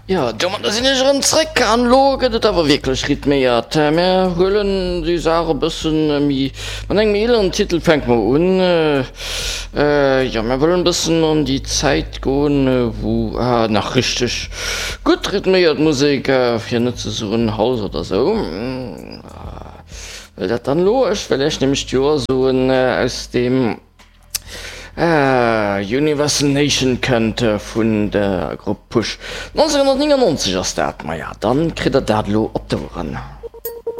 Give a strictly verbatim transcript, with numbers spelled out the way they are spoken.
Jo, domadder sinn ech erëm zréck an elo gëtt et awer wierklech rhythméiert. Mär huelen déi Saach e bëssen méi mat engem eeleren Titel fänke mer un. Jo, mär wëllen e bëssen an déi Zäit goen, wou nach richteg gutt rhythméiert Musek, fir net ze soen House oder sou, well dat dann elo, ech wëll iech nämlech d'Joer soen, aus deem. Universal Nation kënnt vun der Grupp Push. nonzénghonnertnéngannonzeg ass dat, maja dann kritt der dat elo op d'Oueren.